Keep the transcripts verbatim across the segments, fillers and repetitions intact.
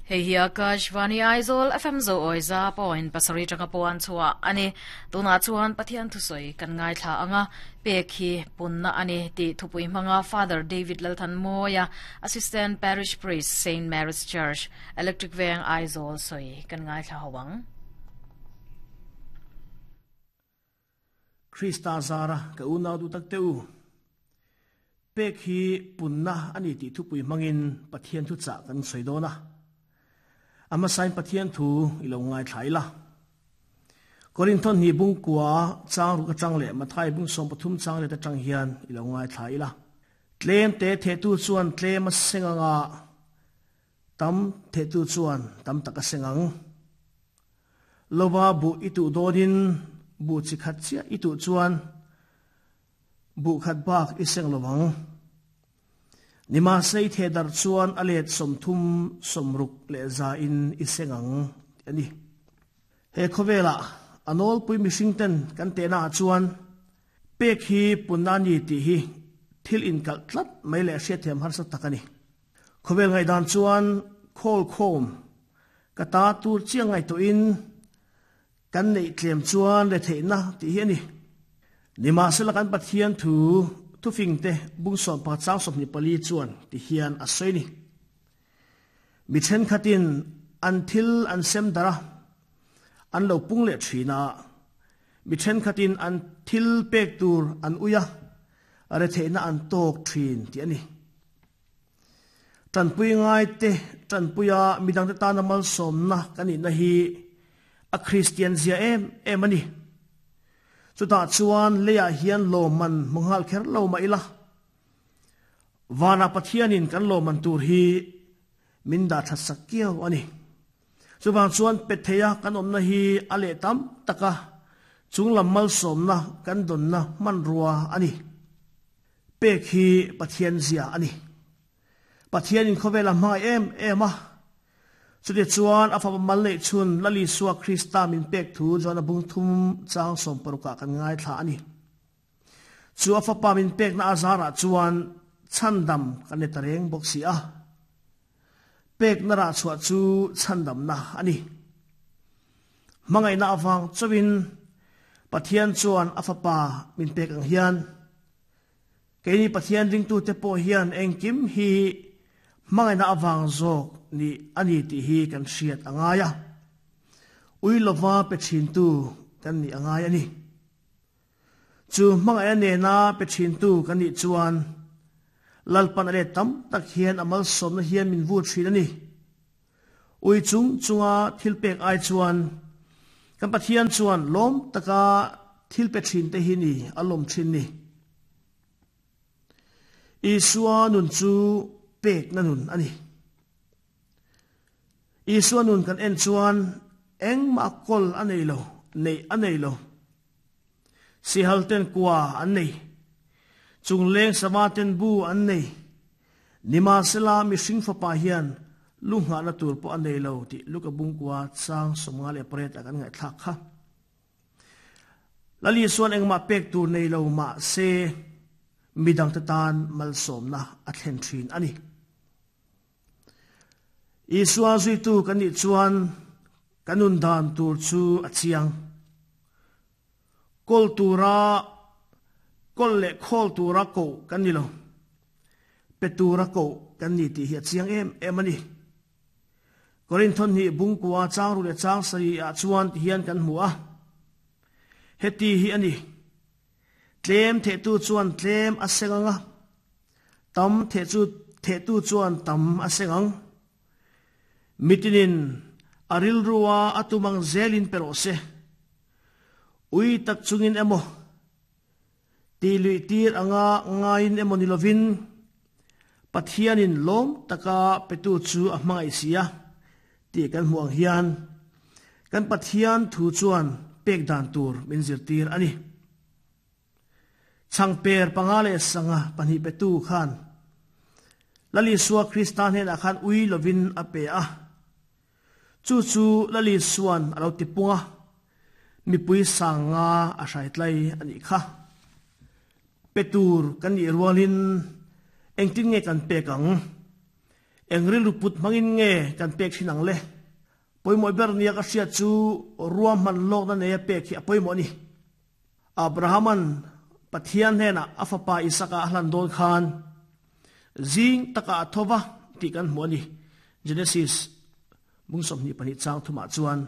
Hei hi Akashvani Aizawl F M zo oiza point pasari tanga puan chua ani tuna chuan Pathian thusoi kan ngai thla anga pek hi punna ani ti thupui hmanga Father David Lalthan Moya Assistant Parish Priest Saint Mary's Church Electric Veng Aizawl soi kan ngai thla hawang Krista Zara ka una du tak teu pek hi punna ani ti thupui hmangin Pathian thu cha kan soi dona ama sain Pathian thu ilo ngai thaila Korinthon hi bung kwa chang ru ka chang le Mathai bung som pathum chang le ta chang hian ilo ngai thaila tlem te the tu chuan tlem a senganga tam the tu chuan tam taka sengang lova bu itu dodin bu chi khat chia itu chuan bu khat bak iseng lowang nima sei the dar chuan alet somthum somruk le za in isengang ani he khovela anol pui missing ten kan te na chuan pek hi punani ti hi thil in kal tlat mai le hria them har sa takani khovel ngai dan chuan khol khom kata tur chiang ngai to in kan nei tlem chuan le theina ti hi ani nima sela kan Pathian thu thu fing te bung som pa chang som ni pali chuan ti hian a soini mi then khatin an thil an sem dara an lo pung le thina mi then khatin an thil pek tur an uya are theina an tok thin ti ani tan pui ngai te tan puya midang te ta na mal som na kani na hi a Christian zia em em ani chuta chuan leya hian loman manghal kher lo ma ila wana Pathianin kan loman tur hi minda thatsakiau ani chuwang chuan petheya kan omna hi ale tam taka chunglam mal somna kan donna man ruwa ani pek hi Pathian zia ani Pathianin khovela hmangai em em a chuti chuan afa mal nei chun lali suwa Krista min pek thu chuan a bung thum chang som paruka kan ngai thla ani chu afa pa min pek na azara chuan chandam kan ne tareng bok si a pek na ra chua chu chandam na ani mangai na awang chawin Pathian chuan afa pa min pek ang hian keini Pathian ring tu te pawh hian engkim hi mangai na awang zawk ni ani ti hi kan hriat angaya ui lova pe thin tu kan ni angaya ni chu mangai ane na pe thin tu kan ni chuan lalpan ale tam tak hian amal som na hian min vu thin ani ui chung chunga thil pek ai chuan kan Pathian chuan lom taka thil pe thin te hi ni alom thin ni Isua nun chu pek na nun ani Isua nun kan en chuan eng ma kol anei lo nei anei lo si hal ten kwa an nei chung leng sama ten bu an nei nima sela mi sing fa pa hian lunga na tur po anei lo ti luka bung kwa chang somnga le pret akan ngai thak kha lali suan eng ma pek tur nei lo ma se midang te tan malsom na a thlen thin ani Isua zui tu kan ni chuan kanun dan tur chu a chiang kol tura kol le khol tura ko kan ni lo pe tura ko kan ni ti hi a chiang em em ani Korinthon hi bung kwa chang ru le chang sari a chuan ti hian kan hmu a heti hi ani tlem the tu chuan tlem a senganga tam the chu the tu chuan tam a sengang mitinin aril ruwa atumang zelin perose ui tak chungin emo ti lui tir anga ngain emo nilovin Pathianin lom taka petu chu a hmangai sia ti kan huang hian kan Pathian thu chuan pek dan tur min zirtir ani chang per pangale sanga pani petu khan lali suwa Kristan hen akhan ui lovin a pe a chu chu lali suan alo tipunga mi pui sanga a hrai tlai ani kha petur kan ni rualin engtin nge kan pekang Engril ruput mangin nge kan pek thin ang le. Pawimawh ber nia ka hriat chu ruahman lawkna neia pek hi a pawimawh a ni. Abrahaman Pathian hnenah a fapa Isaka a hlan dawn khan zing takah a thova tih kan hmu a ni. Genesis bung sawmhnih pahnih chang thumah chuan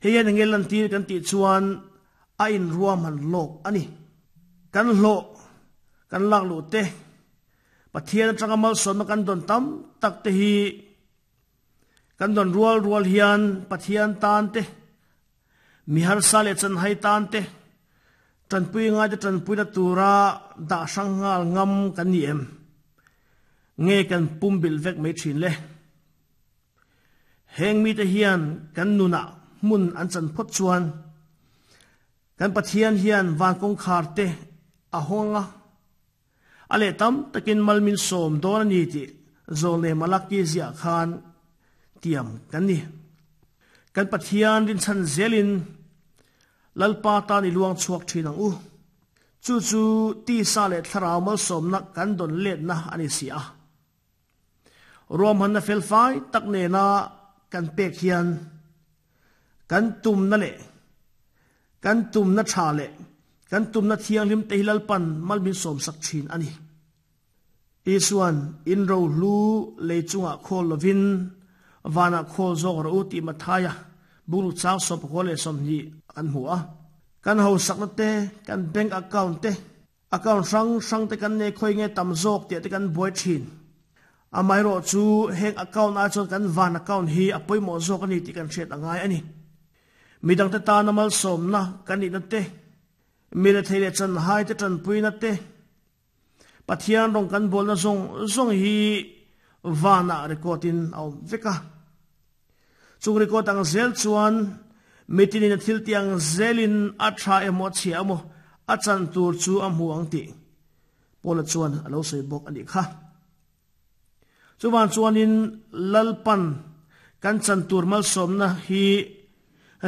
hei hian enge lantir kan tih chuan a inruahman lawk a ni. Kan hlawh kan lak luh te Pathian atanga malsawmna kan dawn tam tak te hi kan dawn rual rual hian Pathian tan te mi harsa leh chanhai tan te tanpui ngai te tanpuina tura dah hrang nghal ngam kan ni em? Nge kan pumbilh vek mai thin le? Heng mite hian kan nunah hmun an chan phawt chuan kan Pathian hian van kawngkhar te a hawng a, a leh tam takin mal min sawm dawn a ni tih Zawlnei Malaki ziah khan tiam kan ni. Kan Pathian rinchhan zelin Lalpa tan i luang chhuak thin ang u. Chu chu tisa leh thlarau malsawmna kan dawn letna a ni si a. Ruahmanna felfai tak nena kan pek hian kan tumna leh kan tumna tha leh kan tumna thianghlim te hi Lalpan mal min sawmsak thin a ni. Isuan in rohlu lei chungah khawl lovin vanah khawl zawk rawh u tih Mathaia bungruk chang sawm pakua leh sawmhnih kan hmu a. Kan hausakna te, kan bank account te, account hrang hrang te kan nei khawi nge tam zawk tih te kan buai thin. Amaherawh chu heng account ai chuan kan van account hi a pawimawh zawk a ni tih kan hriat a ngai a ni. Midangte tana malsawmna kan nihna te, mi rethei leh chanhai te tanpuina te, Pathian rawng kan bawlna zawng zawng hi vanah record in a awm vek a. Chung record ang zel chuan mitinin a thil tih ang zelin a tha emaw a chhia emaw a chan tur chu a hmu ang tih Paula chuan a lo sawi bawk a nih kha. Chuvang chuanin Lalpan kan chan tur malsawmna hi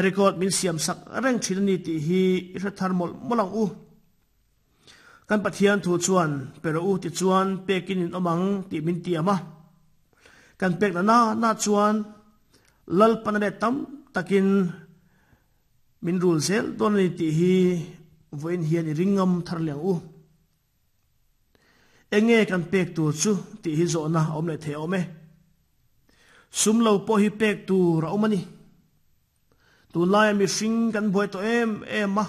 record min siam sak reng thin a ni tih hi i hre thar mawlh mawlh ang u. Kan Pathian thu chuan pe rawh u tichuan pekin in awm ang tih min tiam a. Kan pek na na na chuan Lalpan a let tam takin min rul zel dawn a ni tih hi vawiin hian i ring ngam thar leh ang u. Enge kan pek tur chu tih hi zawhna a awm leh thei awm e. Sum lo pawh hi pek tur a awm a ni. Tunlaia mihring kan buai tawh em em a.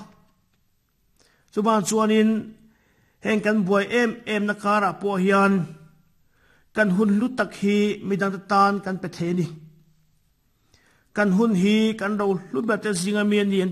Chuvang chuanin heng kan buai em em na karah pawh hian kan hun hlu tak hi midangte tan kan pe thei a ni. Kan hun hi kan ro hlu ber te zinga mi a ni an ti